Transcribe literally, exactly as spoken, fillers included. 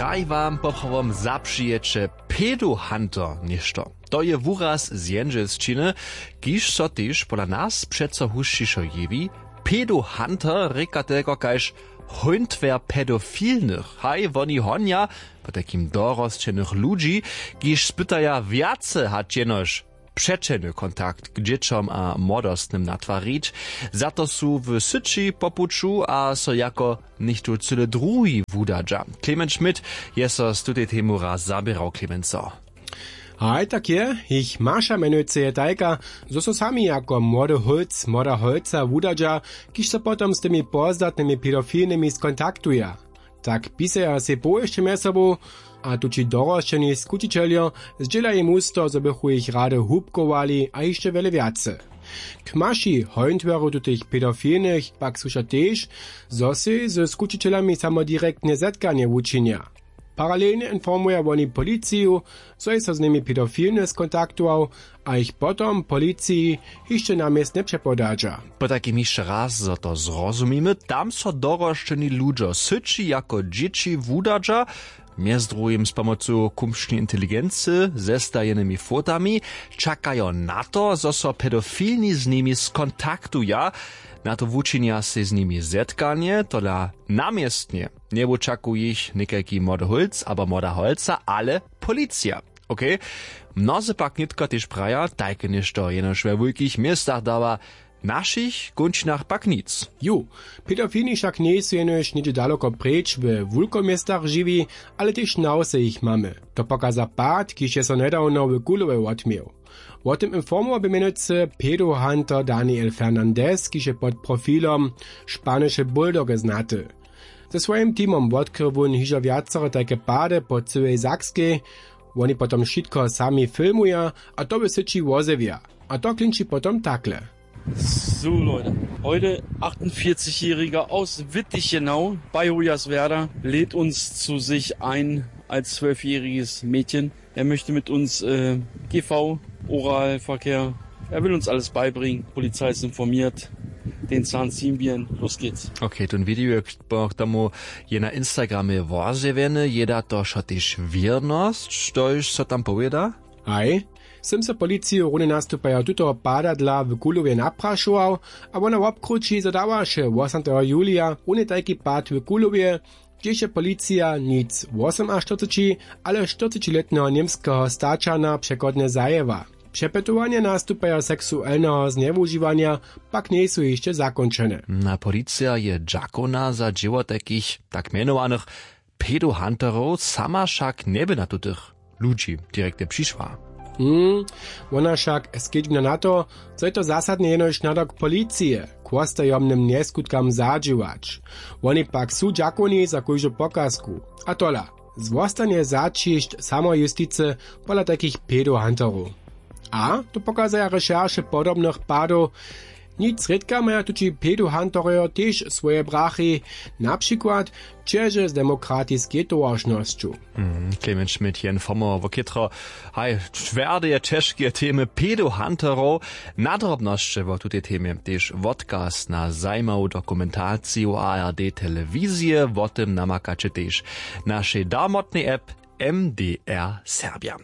Daj wam poprawom zapřijeće pedohunter něšto. To je wuraz z jendźelšćiny, kiž so tež pola nas přeco husćišo jewi. Pedohunter rěka telko kaž hóntwjer pedofilnych. Haj, woni honja potajkim dorosćenych ludźi, kiž spytaja wjace hač jenož přećelny kontakt k dźěćom a młodostnym natwarić. Za to su w syći po puću a so jako něchtó cyle druhi wudadźa. Clement Schmidt je so z tutej temu raz zaběrał. Clemenco. Haj, tak je. Jich maša mjenujcy je tajka, zo so sami jako młody holc, młoda holca wudadźa, kiž so potom z tymi pozdatnymi pedofilnymi skontaktuja. Tak pisaja sej powěsće mjez sobu, a tući dorosćeni skućićeljo zdźěla jim husto, zo bychu jich rady hubkowali a hišće wjele wjace. K maši hojntwerju tutych pedofilnych pak słuša tež, zo sej ze skućićelami samo direktne zetkanje wučinja. Paralelnje informuja woni policiju, zo je so z nimi pedofilny skontaktował, a jich potom policiji hišće na městnje přepodadźa. Potajkim hišće raz, zo to zrozumimy, tam so dorosćeni ludźo syći jako dźěći wudadźa, mjez druhim z pomocu kumšnej inteligency, zestajenymi fotami, čakajo na to, zo so pedofilni z nimi skontaktuja. Na to wučinja sej z nimi zetkanje, tola na městnje. Njewučaku jich někajki młody holc abo młoda holca, ale policija. Okej. Mnozy pak nětko tež praja, tajke něšto jenož we wulkich městach dawa, w našich kónčinach pak nic. Ju, pedofilni wšak njejsu jenož něhdźe daloko preč we wulkoměstach žiwi, ale tež na wsy jich mamy. To pokaza pad, kiž je so njedawno w Kulowje wotměł. Wo tym informował bě mjenujcy pedohunter Daniel Fernandez, kiž je pod profilom Španische Bulldogge znaty. Ze swojim teamom wotkrył wón hižo wjacore tajke pady po cyłej Sakskej. Woni potom wšitko sami filmuja a to w syći wozjewja. A to klinči potom takle. So, Leute, heute achtundvierzigjähriger aus Wittichenau bei Hoyerswerda lädt uns zu sich ein als zwölfjähriges Mädchen. Er möchte mit uns äh, G V, Oralverkehr. Er will uns alles beibringen. Polizei ist informiert. Den Zahn ziehen wir. Los geht's. Okay, ten video, k tomu je na Instagramje wozjewjeny, je da to wšo tež wěrnosć, štož so tam powěda? Haj, sym so policiju runje nastupajo tutoho padadla w Kulowje naprašował, a wona wobkrući, zo dawaše wosamteho julija runje tajki pad w Kulowje, hdźež je policija nic wosomaštyrceći, ale štyrcećilětneho němskeho staćana přechodnje zajěła. Přepytowanja nastupajo seksuelneho znjewužiwanja pak njejsu hišće zakónčene. Na policija je dźakowna za dźěło tajkich tak mjenowanych pedohunterow, sama wšak njeby na tutych ludźi direktnje přišła. Hmm, wona wšak skedźbnja na to, zo je to zasadnje jenož nadawk policije k wostajomnym njeskutkam zadźěłać. Woni pak su dźakowni za kóždu pokazku. A tola, zwostanje zaćišć samojusticy pola tajkich pedohunterow. A to pokazaja rešerše podobnych padow. Nic rědka maja tući pedohunterojo tež swoje brachi, na přikład ćeže z demokratiskej towaršnosću. Mhm, Clement Schmidt je informował wo chětro, haj, twerdeje ćežkeje temy pedohunterow. Na drobnosće wo tutej temje tež wotkaz na zajimawu dokumentaciju A R D telewizije. Wo tym namakaće tež w našej darmotnej app M D R Serbja.